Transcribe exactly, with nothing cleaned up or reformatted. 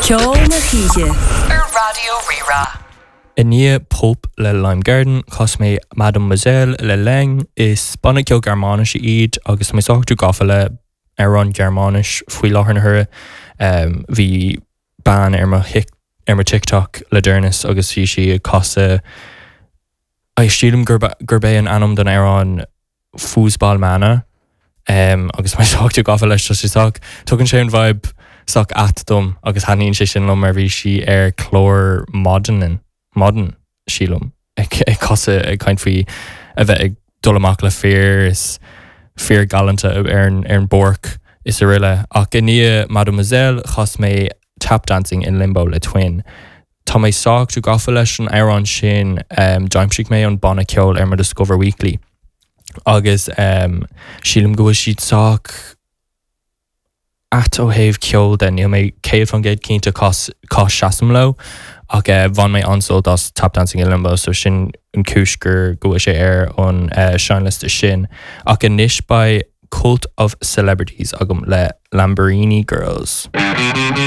Ceol na hoíche ar Raidió Rí-Rá. I ndiaidh Pulp le Lime Garden chas mé Mademoiselle le Leng is banna ceoil Gearmáinis iad agus mé sách gafa le amhráin Gearmáinis faoi láthair na huaire um, bhí bean ar mo ar mo TikTok le deireanas agus bhí sí ag casadh sílim gurb gurb é an ainm den amhrán Fußballmänner um, agus mé sách gafa leis sé sách tugann sé an vibe sách ait dom agus thaitníonn sé sin liom mar bhí sí ar chlár maidin maidin sílim ag ag casadh ag caint faoi a bheith ag dul amach le fir is fir galánta ar an ar an bpáirc is araile ach i ndiaidh Mademoiselle chas mé tap dancing in limbo le Twin. Tá mé sách gafa leis an amhrán sin um, d'aimsigh mé an banna ceoil ar mo Discover Weekly. Agus um, sílim go bhfuil siad sách ait ó thaobh ceoil de níl mé céad faoin gcéad cinnte cá cá seasaim leo ach uh, bhain mé an-sult as tap dancing in limbo so sin an cúis gur go bhfuil sé ar an uh, seinnliosta sin ach anois beidh Cult of Celebrities agam le Lamborghini Girls.